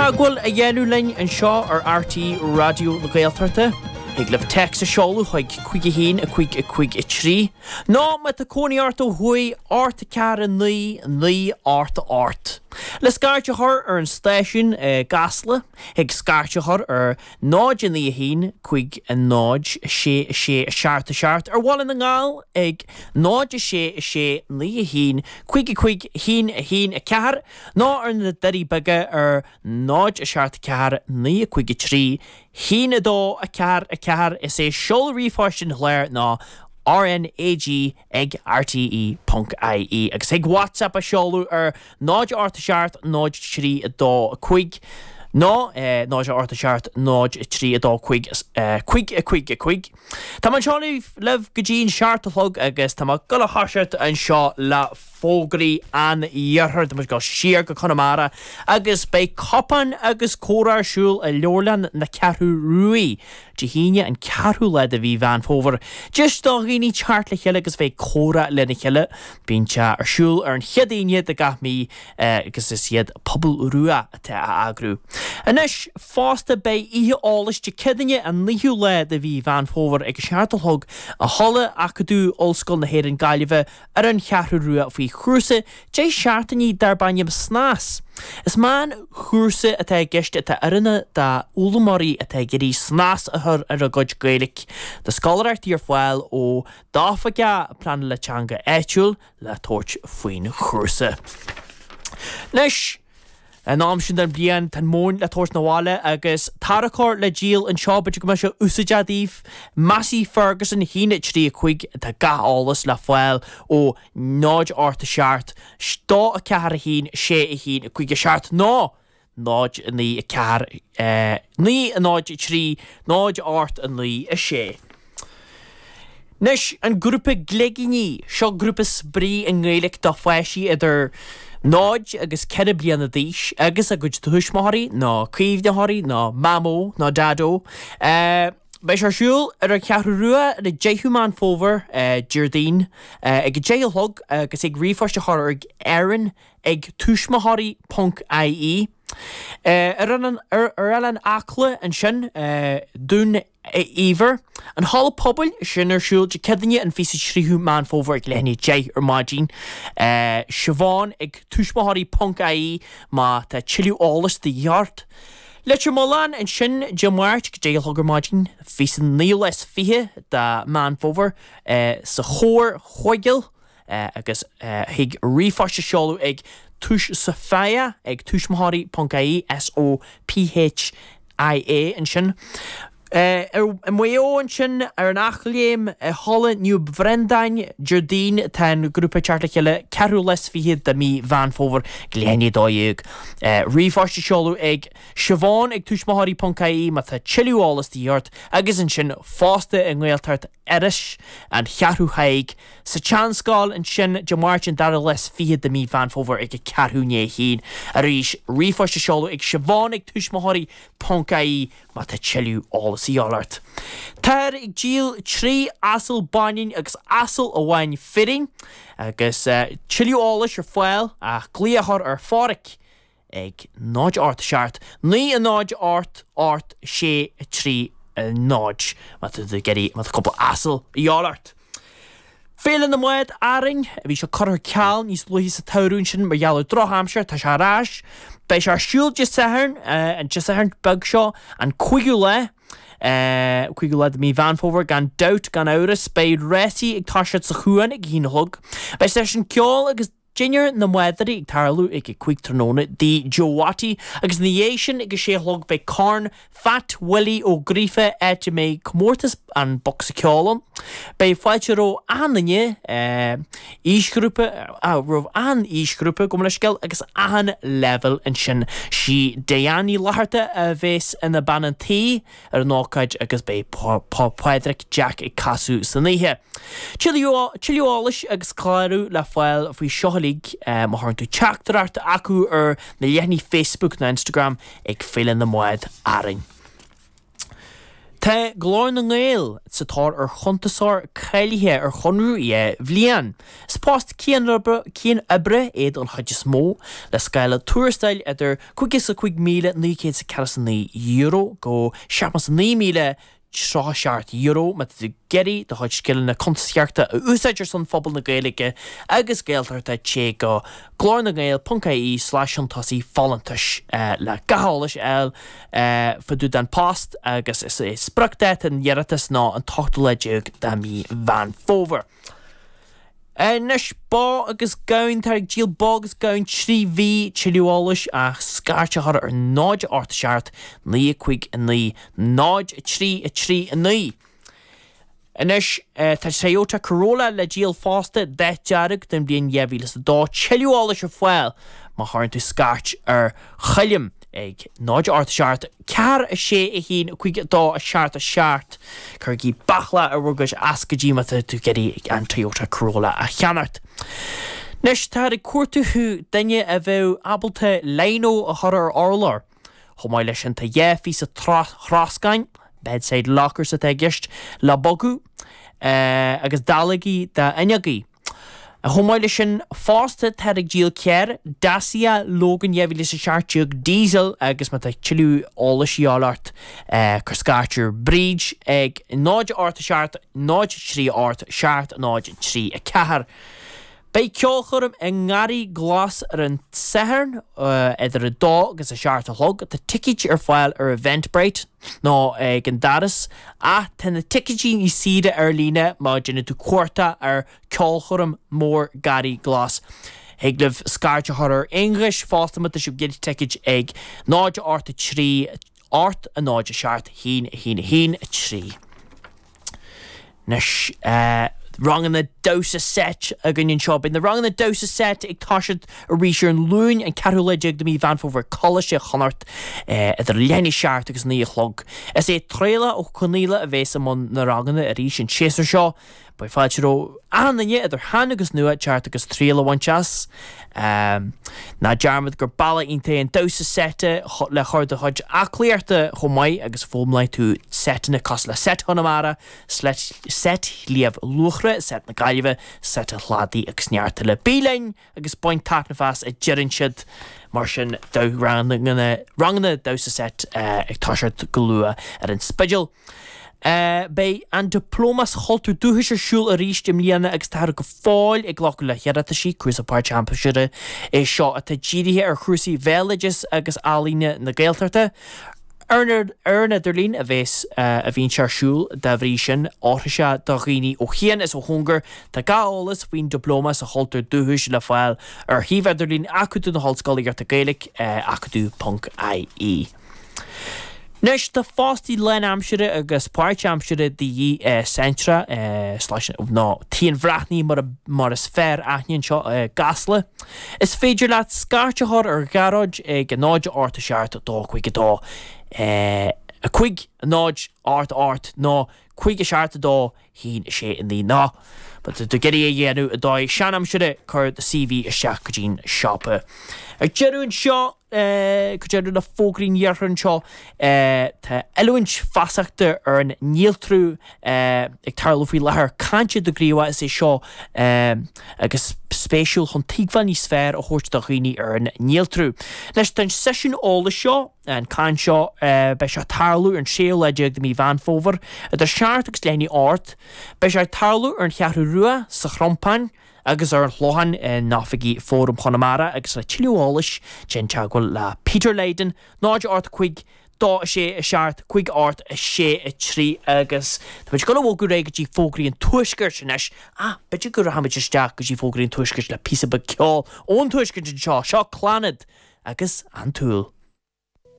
teagmháil a dhéanamh linn anseo ar RTÉ Raidió na Gaeltachta, thig libh téacs a sheoladh chuig 5 1 5 5 3, nó má tá cónaí ort ó thuaidh, 8 4 9 9 8 8. Le scairt a chur ar an stáisiún i gCasla, thig scairt a chur ar 0 9 1 5 0 6 6 7 7, ar Bhaile na nGall ag 0 6 6 9 1 5 5 1 1 4, nó ar na Doirí Beaga ar 0 7 4 9 5 3 1 2 4 4. Is é seoladh ríomhphoist an chláir ná RnaG ag rte ponc ie agus thig WhatsApp a sheoladh ar 0 8 7 0 3 2 5 nó 0 8 7 0 3 2 5 5 5 5. Tá mé anseo libh go dtí an seacht a chlog agus tá mé ag dul a thoiseacht anseo le fógraí an iarthair. Tá muid ag dul siar go Conamara agus beidh cupán agus comhrá ar siúl i Leabharlann na Ceathrú Ruaidh Dé hAoine an ceathrú lá de mhí Mheán Fómhair. Deis do dhaoine teacht le chéile agus bheith ag comhrá lena chéile. Bíonn sé ar siúl ar an chéad Aoine de gach mí agus is iad Pobal Rua atá á eagrú. Anois fosta beidh oíche eolais Dé Céadaoine an naoú lá de mhí Mheán Fómhair ag a seacht a chlog i Halla Acadamh Ollscoil na hÉireann Gaillimhe ar an Cheathrú Rua faoi chúrsa 10 seachtainí darb ainm Snas. Is meánchúrsa atá i gceist atá oiriúnach d'fhoghlaimeoirí atá ag iarraidh snas a chur ar a gcuid Gaeilge. Tá scoláireachtaí ar fáil ó d'Oifigeach Pleanála Teanga áitiúil le tabhairt faoin chúrsa. Anois. An am sin den bhliain, tá an mhóin le tabhairt 'na bhaile agus tarracóir le díol anseo, b'fhéidir go mbeadh sé úsáideach daoibh. Massey Ferguson 1 3 5, tá gach eolas le fáil ó 0 8 7 2 4 1 6 1 5 7 nó 0 9 4 9 0 3 0 8 9 6. Anois, an grúpa Gleigíní, seo grúpa spraoi i nGaeilge do pháistí idir 0 agus 4 bliana d'aois agus a gcuid tuismitheoirí nó caomhnaitheoirí nó Mamó nó Daideo. Beidh sé ar siúl ar an Cheathrú Rua ar an 10ú Meán Fómhair, Déardaoin, ag a 10 a chlog agus thig ríomhphost a chur ag Erin ag tuismitheoirí ponc ie. Ar Oileán Acla ansin, Dún Eibhir. An Halla Pobail, sin ar siúl Dé Céadaoine an 23ú Meán Fómhair ag leath i ndiaidh 10 ar maidin. Siobhán ag tuismitheoirí ponc ie má tá tuilleadh eolais de dhíth ort. Leitir Mealláin ansin Dé Máirt ag 10 a chlog ar maidin, 29ú lá is 20 de Meán Fómhair sa Chomharchuigeal. agus thig ríomhphost a sheoladh ag túis Sophia ag tuismitheoirí ponc ie, S O P H I A ansin. I Maigh Eo ansin, ar an Eachléim, i Halla Naomh Bhreandáin, Déardaoin, tá an grúpa ag teacht le chéile, ceathrú lá is fichead de mí Mheán Fómhair, ag leath i ndiaidh 12. Ríomhphost a sheoladh ag Siobhán ag tuismitheoirí ponc ie má tá tuilleadh eolas de dhíth ort agus ansin fosta i nGaeltacht Iorrais, An Cheathrú Thaidhg, sa tSeanscoil ansin Dé Máirt an dara lá is fichead de mí Mheán Fómhair ag a ceathrú i ndiaidh a haon. Arís, ríomhphost a seoladh ag Siobhán ag tuismitheoirí ponc ie má tá tuilleadh eolas a dhíobháil ort. Táthar ag díol 3 asal baineann agus asal amháin fireann agus tuilleadh eolais ar fáil ach glaoch a chur ar Pháraic ag 0 8 7 9 0 8 8 6 3 0 má tá tú ag iarraidh, má tá cúpla asal a dhíobháil ort. Féile na mBád Árainn, bhí sé curtha ar ceal níos luaithe sa tsamhradh ansin mar gheall ar drochaimsir, tá sé ar ais. Beidh sé ar siúl Dé Sathairn, an Dé Sathairn beag seo, an cúigiú lá, cúigiú lá de mí Mheán Fómhair, gan dabht, gan amhras. Beidh rásaí ag toiseacht sa chuan ag a haon a chlog. Beidh seisiún ceoil agus. Dinnéar na mbádóirí ag tarlú ag a 5 tráthnóna i dTigh Joe Watty agus ina dhiaidh sin ag a 6 a chlog beidh Corn Phat Willie Ó Gríofa áit a mbeidh comórtas an bocsa ceoil ann. Beidh fáilte roimh achan duine, aoisghrúpa, roimh achan aoisghrúpa, gabh mo leithscéal, agus achan leibhéal ansin. Sí Diane Ní Fhlatharta a bheas ina bean an tí. ar an ócáid agus beidh Pádraic Jack ag casadh san oíche. Tuilleadh eolais agus clárú le fáil faoi seo uilig má chuireann tú teachtaireacht acu ar na leathanaigh Facebook nó Instagram ag Féile na mBád Árainn. Tá Glór na nGael sa tóir ar chuntasóir cáilithe ar chonradh 2 bhliain. Is post cianoibre é don chuid is mó, le scála tuarastail idir €55,949 go €79,037 má tá tú ag iarraidh do chuid scileanna cuntasaíochta a úsáid ar son phobal na Gaeilge agus Gaeltachta téigh go glornangael.ie slash chun tosaigh folúntais le gach eolas a fháil fá dtaobh den post agus is é spriocdháta an iarratais ná an t-ochtú lá déag de mhí Mheán Fómhair. Anois bó agus gamhain, táthar ag díol bó agus gamhain 3 mhí, tuilleadh eolais ach scairt a chur ar 0 8 7 9 5 9 0 3 3 9. Anois, tá Toyota Corolla le díol fosta, dath dearg, den bhliain 2002. Tuilleadh eolais ar fáil má chuireann tú scairt ar Choilm ag 0 8 7 4 6 1 5 2 7 7. Cuirigí baicle ar bhur gcuid eascaidí má tá tú ag iarraidh an Toyota Corolla a cheannacht. Anois, táthar ag cuartú duine a bheadh ábalta lino a chur ar urlár. Chomh maith leis sin tá 2 phíosa troscáin, bedside lockers atá i gceist, le bogadh agus dallógaí d'fhuinneogaí. Chomh maith leis sin fosta táthar ag díol carr, Dacia Logan 2017 diesel agus má tá tuilleadh eolais a dhíobháil ort cuir scairt ar Bríd ag 0 8 7 0 3 8 7 0 3 4. Beidh ceolchoirm i nGarraí Glas ar an Satharn idir 2 agus 7 a chlog. Tá ticéid ar fáil ar Eventbrite nó ag an doras ach tá na ticéidí níos saoire ar líne má déanann tú cuardach ar Ceolchoirm Mór Garraí Glas. Thig libh scairt a chur ar Aonghus fosta má tá sibh ag iarraidh ticéid ag 0 8 3 8 0 7 1 1 1 3. Anois, ranganna damhsa seit againn anseo. Beidh na ranganna damhsa seit ag toiseacht arís ar an Luan, an ceathrú lá déag de mhí Mheán Fómhair, Coláiste Chonnacht, idir leath i ndiaidh a seacht agus 9 a chlog. Is é Traolach Ó Conaola a bhéas i mbun na ranganna arís an séasúr seo. Beidh fáilte roimh achan duine, idir shean agus nua, teacht agus triail a bhaint as. Ná dearmad gur bealach iontach é an damhsa seite le cur do chuid aclaíochta chomh maith agus foghlaimeoidh tú seiteanna cosúil le Seit Chonamara, Seit Shliabh Luachra, Seit na Gaillimhe, Seit an Chladaigh agus neart eile. Bí linn agus bain taitneamh as, a deireann siad. Mar sin, ranganna damhsa seit ag toiseacht go luath ar an Spidéal. Beidh an Dioplóma sa Chultúr Dúchais ar siúl arís i mbliana agus táthar go fóill ag glacadh le hiarrataisí. Cúrsa páirtaimseartha é seo atá dírithe ar chúrsaí bhéaloideas agus ealaíne na Gaeltachta. Ar an idirlíon a bhéas a bhíonn sé ar siúl, dá bhrí sin, oirfidh sé do dhaoine ó chian is ó chóngar. Tá gach eolas faoin Dioplóma sa Chultúr Dúchais le fáil ar shuíomh idirlín Acadamh na hOllscolaíochta Gaeilge, acadamh.ie. Anois tá fostaí lánaimseartha agus páirtaimseartha de dhíth i Centra, nó Tigh an Bhreathnaigh mar is fearr aithne anseo i gCasla. Is féidir leat scairt a chur ar Ghearóid ag 0 8 7 2 5 2 5 0 8 8 nó 5 7 2 1 6 9 Nó má tá tú ag iarraidh é a dhéanamh i dóigh seanaimseartha, cuir do CV isteach go dtí'n siopa. Ar deireadh anseo. Go deireadh le fógraí an iarthair anseo, tá oiliúint feasachta ar an néaltrú ag tarlú faoi láthair. Caint i do Ghríobhach is é seo agus spéisiúil chun tuigbheáil níos fearr a thabhairt do dhaoine ar an néaltrú. Anois tá an seisiún eolais seo, an caint seo, beidh sé ag tarlú ar an séú lá déag de mhí Mheán Fómhair idir seacht agus leath i ndiaidh a hocht. Beidh sé ag tarlú ar an Cheathrú Rua, sa Chrompán. agus ar an Chlochán in oifigí Fóram Chonamara agus le tuilleadh eolais déan teagmháil le Peter Lydon, 0 8 5 2 6 7 5 8 6 3 agus tá muid ag dul a bhogadh ar aghaidh go dtí fógraí an Tuaiscirt anois ach b'fhéidir go rachaimid isteach go dtí fógraí an Tuaiscirt le píosa beag ceoil ón Tuaisceart anseo. Seo Clannad agus An tSúil.